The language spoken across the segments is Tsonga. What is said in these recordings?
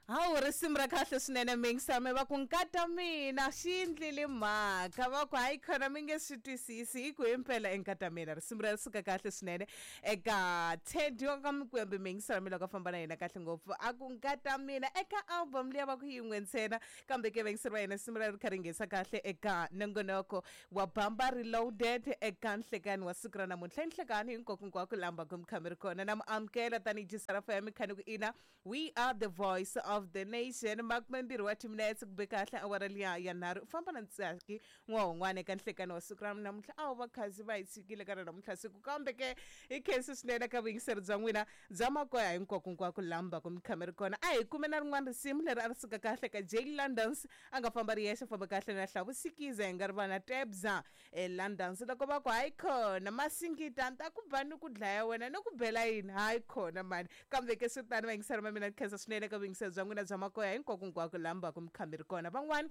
Hawu, risimu ra kahle swinene mingisame va ku nkata mina xi endlile mhaka va ku hayi khona mi nge swi twisisi hi ku himpela i nkata mina. Risimu ra suka kahle swinene eka Teddy wa ka Mikwembe mingisame loko a famba na yena kahle ngopfu a ku nkata mina eka album liya va ku yin'we ntsena kambe ke vayingiseri va yena risimu ra ri kha ri nghesa kahle eka nongonoko wa Bamba Reloaded eka nhlekani wa siku ra namuntlha. I nhlekani hinkwako lamba ku mi kha mi ri kona na mu amukela tanihi Jisarafa ya mikhani ku ina. We are the voice of the nation. 20 wa timinetse ku be kahle awara liya ya nharhu. U famba na Ntsaki n'wahun'wana eka nhlekani wa siku ra namuntlha. A wu va khazi va hi tshikile ka ra namuntlha siku kambe ke hi khensi swinene ka vuyingiseri bya n'wina bya makoya hinkwako lamba ku mi kha mi ri kona. A hi kume na rin'wana risimu leri a ri suka kahle ka Jay Londons a nga famba ri yexe famba kahle na Hlavu Sikiza hi nga ri vana Tebza eLondon. Se loko va ku hayi khona masingita ni ta ku ba ni ku dlaya wena ni ku bela yini hayi khona mani kambe ke swi tani vayingiseri va mina ni khensa swinene ka vuyingiseri bya n'wina bya makoya hinkwako laha mi va ku mi kha mi ri kona. Van'wani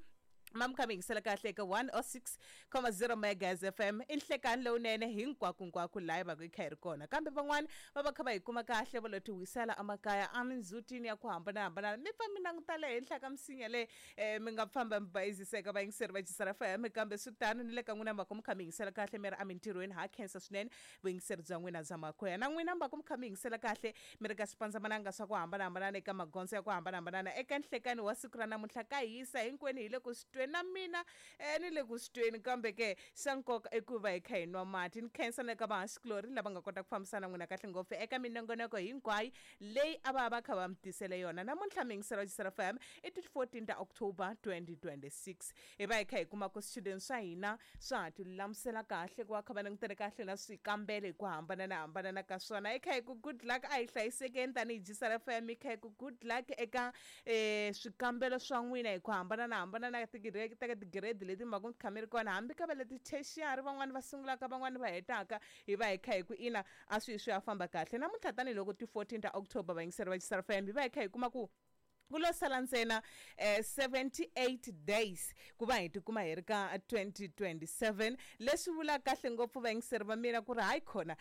ma mi kha mi yingisela kahle eka 106.0 Megahertz FM i nhlekani lowunene hinkwako laha hi va ku hi kha hi ri kona kambe van'wani va va kha va hi kuma kahle va lo ti wisela emakaya emindzhutini ya ku hambanahambana mi pfa mi languta le henhla ka misinya leyi mi nga famba mi bayiziseka vayingiseri va Jisara FM kambe swi tano ni le ka n'wina mhaka mi kha mi yingisela kahle mi ri emintirhweni ha khensa swinene vuyingiseri bya n'wina bya makoya na n'wina mhaka mi kha mi yingisela kahle mi ri ka swipandzamananga swa ku hambanahambana eka magondzo ya ku hambanahambana eka nhlekani wa siku ra namuntlha ka hisa hinkwenu hi le ku swi tweni na mina ni le ku swi tweni kambe ke xa nkoka i ku va hi kha hi nwa mati. Ni khensa na ka vahaxikulori lava nga kota ku fambisana n'wina kahle ngopfu eka minongonoko hinkwayo leyi a va va kha va mi tisele yona namuntlha. Miyingiselo wa Jisara FM i ti 14 ta October 2026. Hi va hi kha hi kuma ku swichudeni swa hina swa ha ti lulamisela kahle ku va kha va langutele kahle na swikambelo hi ku hambanana ka swona. Hi kha hi ku good luck, a hi hlayisekeni tanihi Jisara FM. Hi kha hi ku good luck eka swikambelo swa n'wina hi ku hambanana ka tigiredi leti mi va ku kha mi ri kona hambi ka va leti tertiary van'wani va sungulaka van'wani va hetaka. Hi va hi kha hi ku ina a swi swi ya famba kahle namuntlha tanihiloko ti 14 ta October vayingiseri va Jisara FM hi va hi kha hi kuma ku ku lo sala ntsena 78 days ku va hi tikuma hi ri ka 2027 leswi vulaka kahle ngopfu vayingiseri va mina ku ri hayi khona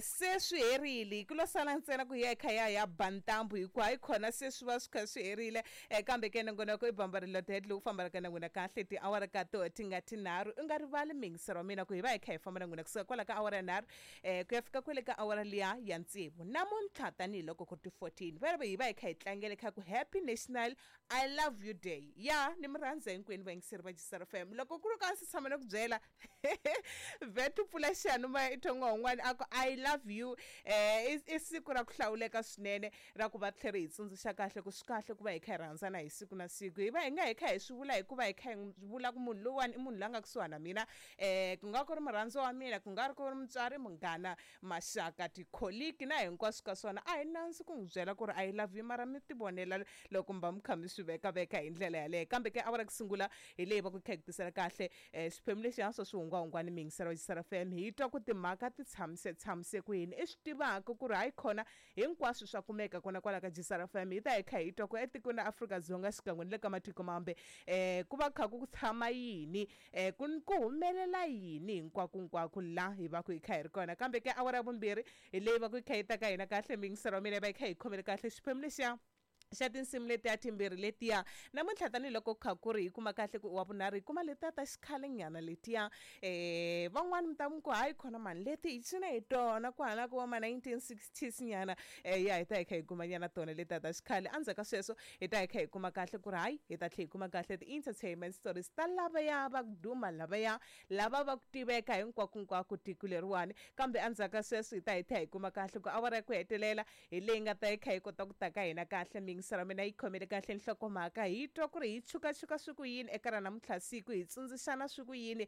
se swi herile ku lo sala ntsena ku hi ya hi kha ya ya ba ntambu hikuva hayi khona se swi va swi kha swi herile kambe ke nongonoko i Bamba Reloaded lowu fambaka na n'wina kahle tiawara ka to ti nga tinharhu. U nga rivali miyingiseri wa mina ku hi va hi kha hi famba na n'wina kusuka kwala ka awara ya nharhu ku ya fika kwele ka awara liya ya tsevu namuntlha tanihiloko ku ri ti 14 va ri hi va hi kha hi tlangele kha ku Happy National I Love You Day. Ya ni mi rhandza hinkwenu vayingiseri va Jisara FM loko ku ri ka si tshama ni ku byela vet pfula xiyanimoya i twa n'wana a ku I love you. I siku ra ku hlawuleka swinene ra ku va tlhela hi tsundzuxa kahle ku swi kahle ku va hi kha hi rhandzana hi siku na siku. Hi va hi nga hi kha hi swi vula hikuva hi kha hi vula ku munhu lowuwani i munhu loyi a nga kusuhana na mina ku nga ku ri murhandziwa wa mina ku nga ri ku ri mutswari munghana maxaka tikholiki na hinkwaswo ka swona a hi nandzu ku n'wi byela ku ri I love you mara mi tivonela loko mi va mi kha mi swi vekaveka hi ndlela yaleyo. Kambe ke awara ku sungula hi leyi va ku kha hi ku tisela kahle xiphemu lexiya swa swihungwahungwani miyingiselo wa Jisara FM hi twa ku timhaka ti tshamise ku yini i swi tivaka ku ri hayi khona hinkwaswo swa kumeka kona kwala ka Jisara FM. Hi ta hi kha hi twa ku etikweni ra Afrika-Dzonga xikan'we ni le ka matiko mambe ku va kha ku tshama yini ku humelela yini hinkwako la hi va ku hi kha hi ri kona. Kambe ke awara ya vumbirhi hi leyi va ku hi kha hi ta ka hina kahle miyingiselo wa mina yi va yi kha hi khomele kahle xiphemu lexiya xa tinsimu letiya timbirhi letiya namuntlha tanihiloko kha ku ri hi kuma kahle ku wa vunharhu hi kuma letiya ta xikhalenyana letiya van'wani mi ta ku hayi khona mani leti hi cina hi tona ku hala ku wa ma 1960s nyana ya hi ta hi kha hi kuma nyana tona letiya ta xikhale. Endzhaku ka sweswo hi ta hi kha hi kuma kahle ku ri hayi hi ta tlhela hi kuma kahle ti-entertainment stories ta lavaya va ku duma lavaya lava va ku tiveka hinkwako tiko leriwani. Kambe endzhaku ka sweswo hi ta hi tlhela hi kuma kahle ku awara ya ku hetelela hi leyi nga ta yi kha yi kota ku ta ka hina kahle miyingiselo mina yi khomele kahle nhlokomhaka hi twa ku ri hi chukachuka swi ku yini eka ra namuntlha siku hi tsundzuxana swi ku yini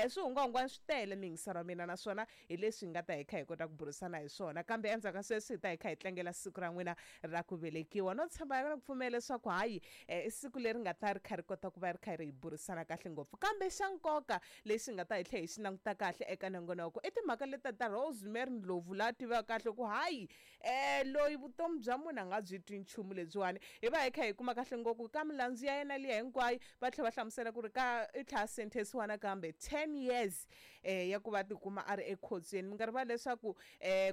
swihungwahungwani swi tele miyingiselo mina naswona hi leswi hi nga ta hi kha hi kota ku burisana hi swona. Kambe endzhaku ka sweswo hi ta hi kha hi tlangela siku ra n'wina ra ku velekiwa no tshemba na ku pfumela leswaku hayi i siku leri nga ta ri kha ri kota ku va ri kha ri hi burisana kahle ngopfu. Kambe xa nkoka lexi nga ta hi tlhela hi xi languta kahle eka nongonoko i timhaka leti ta Rosemary Ndlovu la tivaka kahle ku hayi loyi vutomi bya munhu a nga byi twi nchumu lebyi lebyiwani hi va hi kha hi kuma kahle ngopfu ka milandzu ya yena liya hinkwayo va tlhela va hlamusela ku ri ka i tlhela a sentensiwa nakambe 10 years ya ku va tikuma a ri ekhotsweni. Mi nga rivali leswaku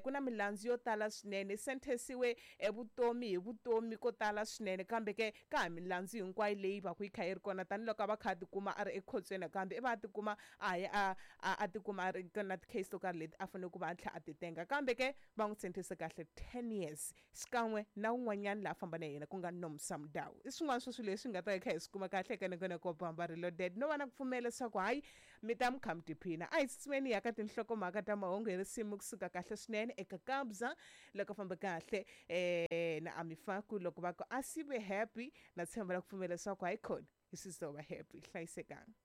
ku na milandzu yo tala swinene, sentensiwe vutomi hi vutomi ko tala swinene, kambe ke ka ha milandzu hinkwayo leyi va ku yi kha yi ri kona tanihiloko a va kha a tikuma a ri ekhotsweni nakambe i va a tikuma a ya a a a tikuma a ri na ti-case to karhi leti a fanele ku va a tlhela a ti tenga, kambe ke va n'wi sentence kahle 10 years xikan'we na wun'wanyana laha famba na yena ku nga Nomsa Mudau. I swin'wana swa swilo leswi nga ta hi kha hi swi kuma kahle eka Nongonoko wa Bamba Reloaded no va na ku pfumela leswaku hayi mi ta mi kha mi tiphina. A hi tsutsumeni hi ya ka tinhlokomhaka ta mahungu hi risimu kusuka kahle swinene eka Kabza loko famba kahle na Ami Faku loko va ku a si ve happy na tshemba na ku pfumela leswaku hayi khona hi swi zova happy. Hlayisekanga.